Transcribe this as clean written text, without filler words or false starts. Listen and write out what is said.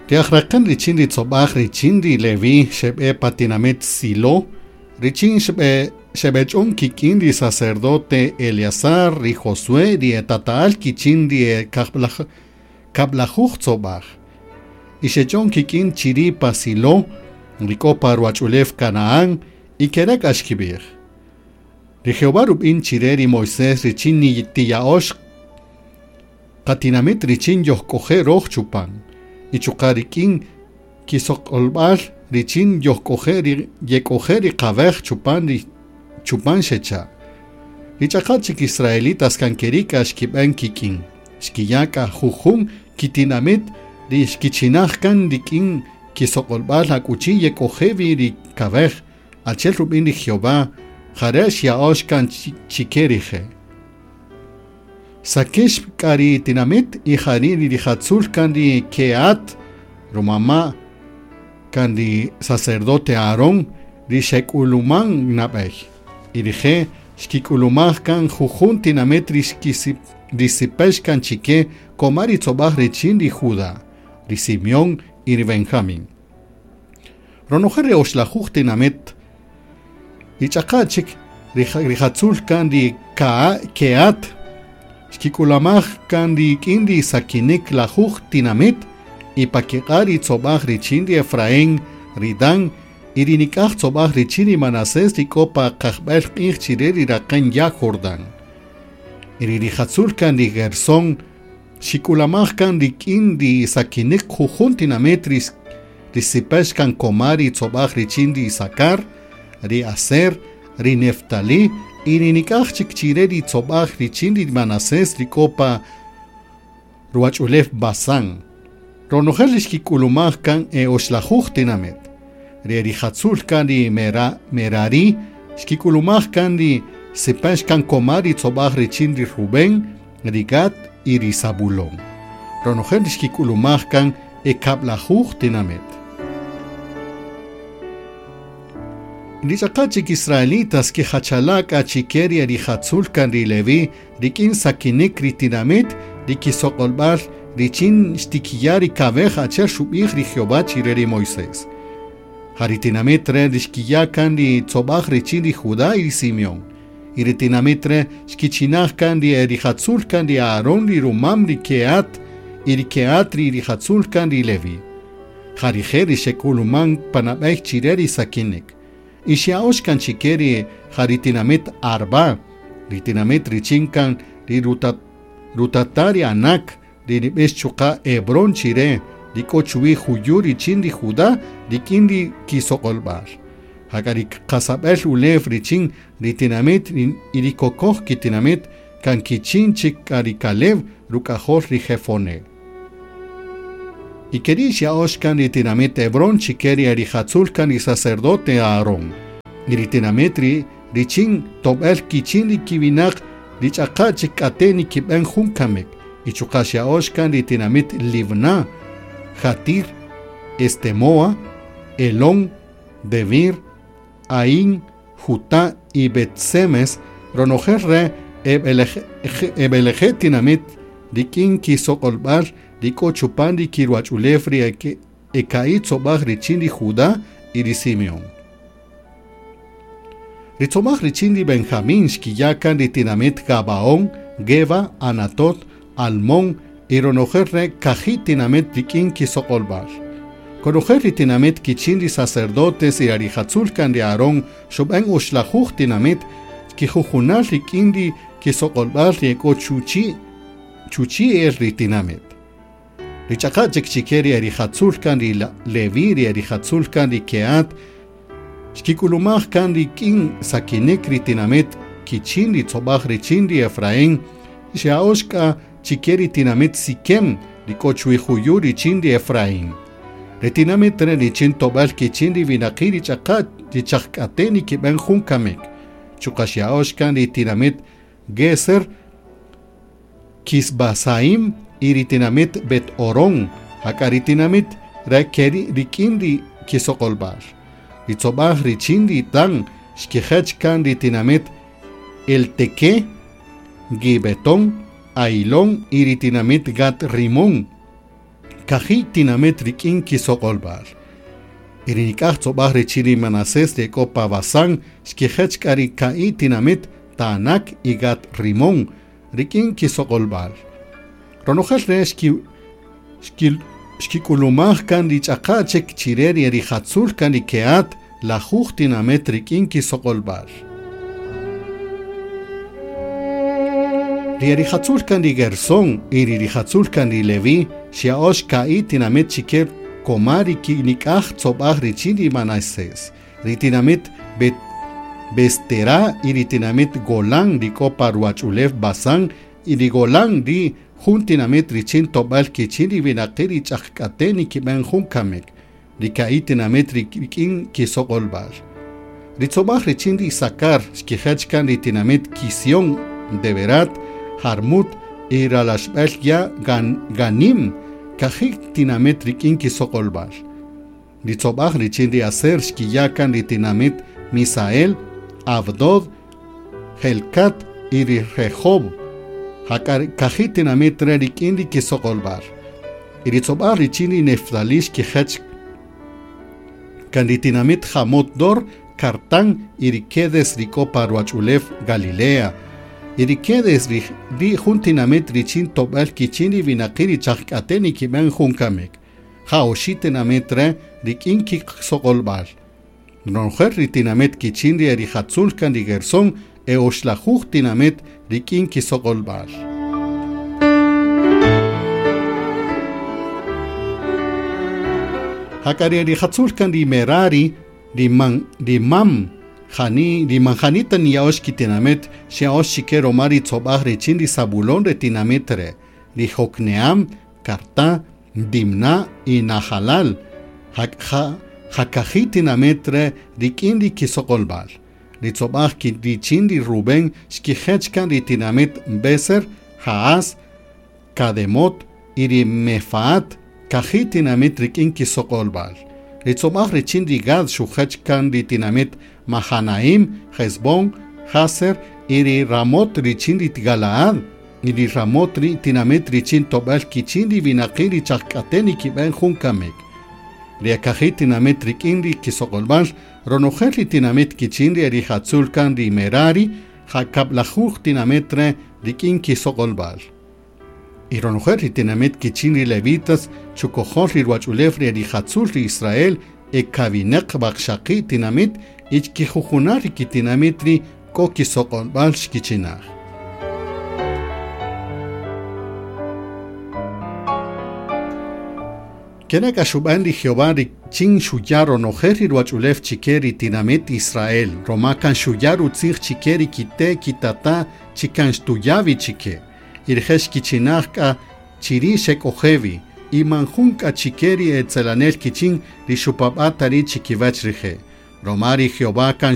Ri aj-raqen richin ri tzobaj richin ri Leví xebe pa tinamit Silo, richin xebech'on kik'in ri sacerdote Eleazar, ri Josué, ri etata'al kichin ri e kablajuj tzobaj. Y xech'on kik'in chiri pa Silo, ri k'o pa ruwach'ulew Canaán, y kere' k'a xkib'ij: Ri Jehová rub'in chire ri Moisés richin tiya'ox qatinamit richin yojk'oje' roj chupan, y chuqa' rik'in kisoq'olb'al richin yojk'oje' ri yek'oje' ri qawej chupan ri chupan xecha'. Ri ch'aqa' chik israelitas kan keri' k'a xkib'en kik'in, xkiya' k'a jujun kitinamit ri xkichinaj kan rik'in kisoq'olb'al akuchi yek'oje' wi ri kawej, achi'el rub'in ri Jehová, jare' xya'ox kan chike rije'. Sakex k'a ri tinamit y jari' ri rijatzul kan ri Kehat, rumama' kan ri sacerdote Aarón, ri xek'uluman nab'ey. Y rije' xkik'ulumaj kan jujun tinamit ri xisipex kan chike koma ri tzobaj richin ri Judá, ri Simeón y ri Benjamín. Ronojel ri oxlajuj tinamit y ch'aqa' chik rijatzul kan ri Kehat, xkik'ulamaj kan rik'in ri sakinik lajuj tinamit y pa kiq'a' ri tzobaj richin ri Efraín, ri Dan y ri nik'aj tzobaj richin ri Manasés ri k'o pa qajb'el q'ij chire ri raqen ya' Jordán. Y ri rijatzul kan ri Gersón xik'ulamaj kan rik'in ri sakinik jujun tinamit ri sipex kan koma ri tzobaj richin ri Isakar, ri Aser, ri Neftalí y ri nik'aj chik chire ri tzobaj richin ri Manasés ri k'o pa ruwach'ulew Basán. Ronojel ri xkik'ulumaj kan e oxlajuj tinamit. Ri rijatzul kan ri Merari xkik'ulumaj kan ri sipex kan koma ri tzobaj richin ri Rubén, ri Gad y ri Zabulón. Ronojel ri xkik'ulumaj kan e kablajuj tinamit. Ri ch'aqa' chik israelitas kijachala' k'a chike ri rijatzul kan ri Leví rik'in sakinik ri tinamit ri kisoq'olb'al richin xtikiya' ri kawej achi'el xub'ij ri Jehová chire ri Moisés. Ja ri tinamit re' ri xkiya' kan ri tzobaj richin ri Judá y ri Simeón. Y ri tinamit re' xkichinaj kan ri rijatzul kan ri Aarón ri rumam ri Kehat y ri Kehat ri rijatzul kan ri Leví. Ja rije' ri xek'uluman panab'ey chire ri sakinik. Y xya'ox kan chike ri ja ri tinamit Arba, ri tinamit richin kan ri rutata ri Anak, ri nib'ix chuqa' Hebrón chire, ri k'o chuwi juyu richin ri Judá rik'in ri kisoq'olb'al. Jak'a ri qasab'el ulew richin ri tinamit y ri kokoj kitinamit kan kichin chik k'a ri Caleb ruk'ajol ri Jefoné. Y keri' xya'ox kan ri tinamit Hebrón chike ri rijatzul kan ri sacerdote Aarón. Y ri tinamit ri richin tob'el kichin ri kiwinaq ri ch'aqa' chik k'ate' nikib'en jun kamik. Y chuqa' xya'ox kan ri tinamit Libná, Jatir, Estemoa, Elón, Debir, Ain, Jutá y Bet-Semes, ronojel re eb'eleje' tinamit rik'in kisoq'olb'al ri k'o chupan ri kiruwach'ulew ri eka'i tzobaj richin ri Judá y ri Simeón. Ri tzobaj richin ri Benjamín xkiya' kan ri tinamit Gabaón, Geba, Anatot, Almón y ronojel re kaji' tinamit rik'in kisoq'olb'al. Konojel ri tinamit kichin ri sacerdotes y rijatzul kan ri Aarón xub'en oxlajuj tinamit kijujunal rik'in ri kisoq'olb'al ri ek'o chuchi el ri tinamit. Ri ch'aqa' chik chike ri rijatzul kan ri Leví, ri rijatzul kan ri Kehat, xkik'ulumaj kan rik'in sakinik ri tinamit kichin ri tzobaj richin ri Efraín, xya'ox k'a chike ri tinamit Siquem, ri k'o chuwi juyu richin ri Efraín. Ri tinamit re richin tob'al kichin ri winaqi' ri ch'aqa' ri chaq k'ate' nikib'en jun kamik. Chuqa' xya'ox kan ri tinamit Geser, Kisbasaim y ri tinamit Bet Orón, jak'a ri tinamit re keri rik'in ri kisoq'olb'al. Ri tzobaj richin ri Dan xkijech kan ri tinamit Elteque, Gibetón, Ailón y ri tinamit Gat Rimón. Kaji tinamit rik'in kisoq'olb'al. Y ri nik'aj tzob'aj richin ri Manasés ri ek'o pa Basán xkijech k'a ri ka'i tinamit Taanac y Gat Rimón rik'in kisoq'olb'al. Ronojel re' xkik'ulumaj kan ri ch'aqa' chik chire ri rijatzul kan ri Kehat lajuj tinamit rik'in kisoq'olb'al. Ri rijatzul kan ri Gersón y ri rijatzul kan ri Leví xya'ox ka'i tinamit chike koma ri nik'aj tzob'aj richin ri Manasés. Ri tinamit Besterá y ri tinamit Golán ri k'o pa ruwach'ulew Basán y ri Golán ri jun tinamit richin tob'al kichin ri winaqi' ri ch'ajk'ate' nikib'an jun kamik. Ri ka'i tinamit rik'in kisoq'olb'al. Ri tzob'aj richin ri Isakar xkijech kan ri tinamit Kisión, Deberat, Jarmut y Ralaxb'el ya Ganim, kaji tinamit rik'in kisoq'olb'al. Ri tzob'aj richin ri Aser xkiya' kan ri tinamit Misael, Abdod, Helcat y ri Rehob. Kaji tinamit re rik'in ri kisoq'olb'al. Y ri tzob'aj richin ri Neftalí xkijech kan ri tinamit Jamot Dor, Kartán y ri Kedes ri k'o pa ruwach'ulew Galilea. Y ri Kedes ri jun tinamit richin tob'al kichin ri winaqi' ri chajk'ate' nikib'an jun kamik. Ja oxi' tinamit re rik'in kisoq'olb'al. Ronojel ri tinamit kichin ri rijatzul kan ri Gersón e oxlajuj tinamit rik'in kisoq'olb'al. Jak'a ri rijatzul kan ri Merari, ri mam jani, ri manjanita niya'ox kitinamit xya'ox chike roma ri tzob'aj richin ri Zabulón re tinamit re, ri Jokneam, Kartá, Dimná y Nahalal. Jakaji tinamit re rik'in ri kisoq'olb'al. Ri tzob'aj richin ri Rubén xkijech kan ri tinamit Beser, Jaas, Kademot y ri Mefaat, kaji tinamit rik'in kisoq'olb'al. Ri tzob'aj richin ri Gad xujech kan ri tinamit Mahanaim, Hesbón, Jaser y ri Ramot richin ri Galaad. Y ri Ramot ri tinamit richin tob'al kichin ri winaqi' ri chajk'ate' nikib'an jun kamik. Ri akaji tinamit rik'in ri kisoq'olb'al, ronojel ri tinamit kichin ri rijatzul kan ri Merari, jakab'lajuj tinamit re rik'in kisoq'olb'al. Y ronojel ri tinamit kichin ri levitas, chukojol ri ruwach'ulew ri rijatzul ri Israel, e kawineq waqxaqi' tinamit, y chkijujunal ri kitinamit ri k'o kisoq'olb'al xkichinaj. Kere' k'a xub'an ri Jehová richin xuya' ronojel ri ruwach'ulew chike ri tinamit Israel, roma kan xuya' rutzij chike ri kite' kitata' chi kan xtuya' wi chike. Y rije' xkichinaj k'a chiri' xek'ojewi, y man jun k'a chike ri etzelanel kichin ri xupab'a' ta ri' chikiwach rije'. Roma ri Jehová kan